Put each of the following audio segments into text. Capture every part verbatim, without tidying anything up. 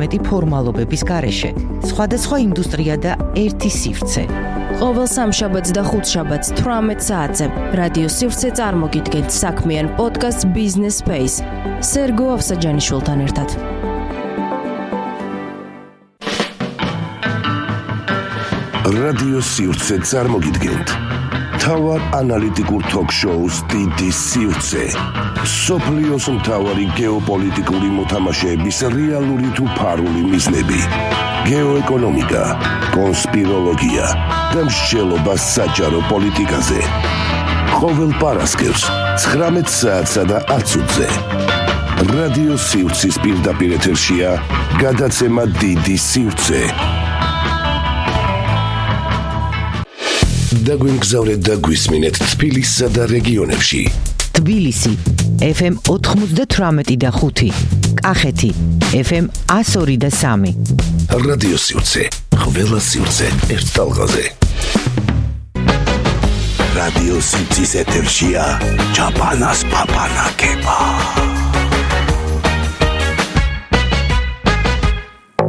არამეტი ფორმალობების გარეშე. სხვადასხვა ინდუსტრია და ერთი სივრცე. ყოველ სამშაბათს და ხუთშაბათს თვრამეტ საათზე რადიო სივრცე წარმოგიდგენთ საქმიან პოდკასტ Business Space სერგო ავსაჯანიშვილთან ერთად. რადიო სივრცე წარმოგიდგენთ თავარ ანალიტიკურ თოქ-შოუს დიდი სივრცე. სოფლიოს მთავარი გეოპოლიტიკური მოთამაშეების რეალური თუ ფარული მიზნები. გეოეკონომიკა, კონსპიროლოგია და მსჯელობა საჯარო პოლიტიკაზე. ყოველ პარასკევს ცხრამეტ საათსა და ათ წუთზე. რადიო სივრცის პირდაპირ ეთერშია გადაცემა დიდი სივრცე. დაგვიმგზავრეთ და გვისმინეთ თბილისსა და რეგიონებში. თბილისი ეფ ემ ოთხმოცდათვრამეტი და ხუთი, კახეთი ეფ ემ ათს ორი და სამი. რადიო სივრცე, ყველა სივრცე ერთ ტალღაზე. რადიო სივრცის ეთერშია ჩაპანას პაპანაკება.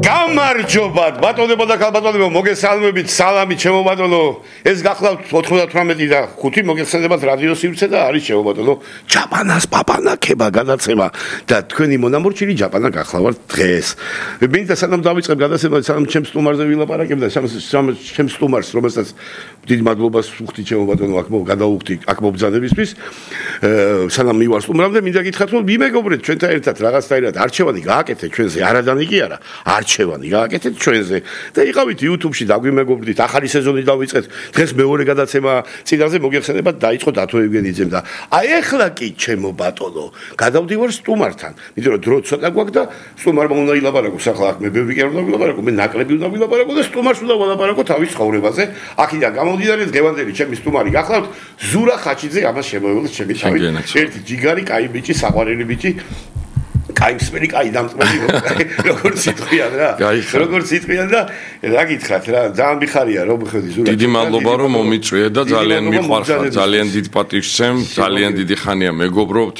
გამარჯობათ, ბატონებო და ქალბატონებო, მოგესალმებით, სალამი ჩემო ბატონო. ეს გახლავთ ოთხმოცდათვრამეტი და ხუთი, მოგესალმებით რადიო სივრცე და არის ჩემო ბატონო ჩაპანას პაპანაკება გადაცემა და თქვენი მონამორჩილი ჩაპანა გახლავთ დღეს. მინდა სანამ დავიწყებ გადაცემა, სანამ ჩემს სტუმარზე ვილაპარაკებ და ჩემს სტუმარს, რომელსაც დიდი მადლობას ვუხდი ჩემო ბატონო, აქ გადავუხდი აქ მობრძანებისთვის. სანამ მივარ სტუმრამდე, მინდა გითხრათ, რომ მიმეგობრეთ ჩვენთან ერთად რაღაცნაირად არჩევანი გააკეთეთ ჩვენზე, არადანი კი არა, არჩევანი გააკეთეთ ჩვენზე და იყავით YouTube-ში დაგვიმეგობრდით, ახალი სეზონი დავიწყეთ. დღეს მეორე გადაცემა წინაზე მოგეხსენებათ დაიწყო დათო ევგენიძემ და აი ეხლა კი ჩემო ბატონო, გადავდივარ სტუმართან. იმიტომ რომ დრო ცოტა გვაქვს და სტუმარმა უნდა ილაპარაკოს, ახლა აქ მე ბევრი კი არ უნდა ვილაპარაკო, მე ნაკლები უნდა ვილაპარაკო და სტუმარს უნდა ვილაპარაკო თავის ცხოვრებაზე. აქედან გამომდინარე დღევანდელი ჩემი სტუმარი გახლავთ ზურა ხაჩიძე, ამას შემოევლოთ ჩემი თავით. ერთი ჯიგარი, კაი ბიჭი, საყვარელი ბიჭი. კაი მსმენი, კაი დამწმენი, როგორც სიტყვიან რა. როგორც სიტყვიან და რა გითხრათ რა, ძალიან მიხარია რომ ხედი ზურა. დიდი მადლობა რომ მომიწვიე და ძალიან მიყვარხარ, ძალიან დიდ პატივს ვცემ, ძალიან დიდი ხანია მეგობრობთ.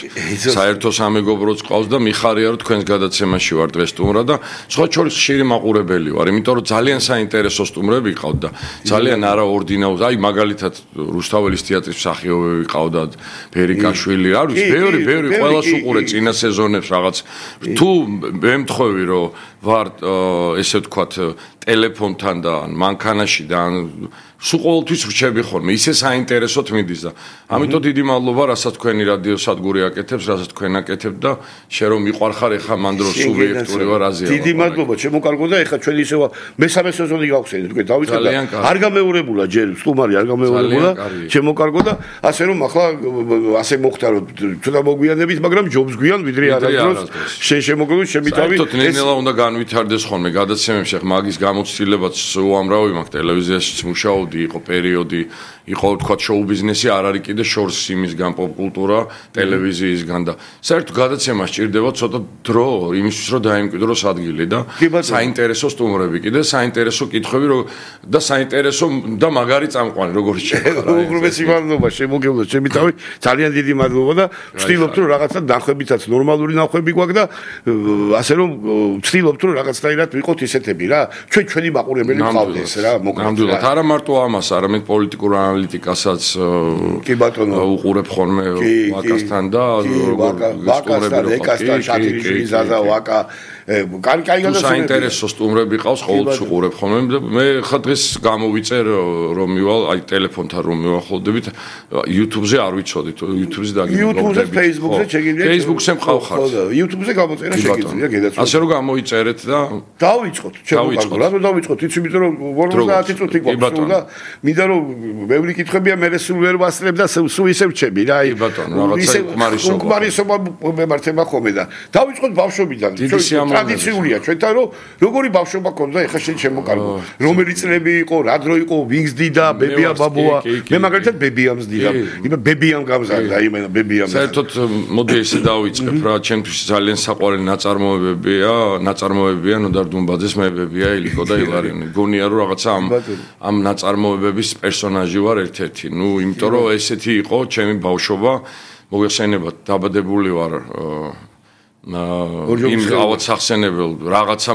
საერთო სამეგობროც ყავს და მიხარია რომ თქვენს გადაცემაში ვარ დღეს სტუმრად და სხვა შორის ხშირი მაყურებელი ვარ, იმიტომ რომ ძალიან საინტერესო სტუმრები ყავთ და ძალიან არაორდინარული, აი მაგალითად რუსთაველის თეატრის მსახიობები ყავდათ, ფერიკაშვილი, არის ბევრი, ბევრი ყველას უყურე წინა სეზონებს რაღაც თუ მე მთხოვი რომ ვარ ესე ვთქვათ ტელეფონთან და მანქანაში და სულ ყოველთვის ვრჩები ხოლმე, ისე საინტერესოდ მიდის და ამიტომ დიდი მადლობა, რასაც თქვენი რადიო სადგური აკეთებს, რასაც თქვენ აკეთებთ და შე რომ მიყვარხარ ეხა მან დროს სულ ვეექტური ვარ აზია. დიდი მადლობა, შემოკარგო და ეხა ჩვენ ისევა მესამე სეზონი გავხსენეთ, თქვენ დავიწყეთ და არ გამეორებულა ჯერ სტუმარი არ გამეორებულა, შემოკარგო და ასე რომ ახლა ასე მოხდა რომ ცოტა მოგვიანებით, მაგრამ ჯობს გვიან ვიდრე არასდროს შენ შემოგული შემითავი. საერთოდ ნელ-ნელა უნდა განვითარდეს ხოლმე გადაცემებში, ახლა მაგის გამოცდილებაც უამრავი მაქვს ტელევიზიაშიც მუშაობ იყო პერიოდი, იყო თქვა შოუ ბიზნესი, არ არის კიდე შორს იმისგან პოპ კულტურა, ტელევიზიისგან და საერთოდ გადაცემა სჭირდება ცოტა დრო იმისთვის რომ დაიმკვიდროს ადგილი და საინტერესო სტუმრები კიდე, საინტერესო კითხვები და საინტერესო და მაგარი წამყვანი როგორც შეიძლება. უგრმესი მადლობა შემოგევლოთ ჩემი თავი, ძალიან დიდი მადლობა და ვცდილობთ რომ რაღაცა ნახვებითაც ნორმალური ნახვები გვაქვს და ასე რომ ვცდილობთ რომ რაღაცნაირად ვიყოთ ისეთები რა, ჩვენ ჩვენი მაყურებელი ვყავდეს რა, მოკლედ. არა მარტო ამას, არამედ პოლიტიკურ ანალიტიკასაც კი ბატონო უყურებ ხოლმე ვაკასთან და ვაკასთან, ეკასთან, შაქრიშვილის ზაზა ვაკა კარი კარი გადასწრები. საინტერესო სტუმრები ყავს, ყოველთვის უყურებ ხოლმე. მე ხა დღეს გამოვიწერ რომ მივალ, აი ტელეფონთან რომ მივახლოვდებით, YouTube-ზე არ ვიცოდით, YouTube-ზე დაგიმოვდებით. YouTube-ზე, Facebook-ზე შეგიძლიათ. Facebook-ზე მყავხართ. YouTube-ზე გამოწერა შეგიძლია, გედაცვა. ასე რომ გამოიწერეთ და დავიწყოთ, ჩემო რა დავიწყოთ, იცი იმიტომ რომ ორმოცდაათი წუთი გვაქვს და მინდა რომ ბევრი კითხვებია, მე სულ ვერ ვასწრებ და სულ ისე ვჩები რა, აი რაღაცა უკმარისობა. უკმარისობა მემართება ხოლმე და დავიწყოთ ბავშვობიდან. ტრადიციულია ჩვენთან რომ როგორი ბავშვობა ქონდა ეხლა შენ შემოკარგო რომელი წლები იყო რა დრო იყო ვინგს დიდა ბებია ბაბუა მე მაგალითად ბებიამს დიდა იმე ბებიამ გამზარდა იმენა ბებიამ საერთოდ მოდი ესე დავიწყებ რა ჩემთვის ძალიან საყვარელი ნაწარმოებებია ნაწარმოებებია ნოდარ დუმბაძეს მე ბებია ილიკო და ილარიონი გონია რომ რაღაცა ამ ამ ნაწარმოებების პერსონაჟი ვარ ერთ-ერთი ნუ იმიტომ რომ ესეთი იყო ჩემი ბავშვობა მოგეხსენებათ დაბადებული ვარ იმ ავად სახსენებელ რაღაცა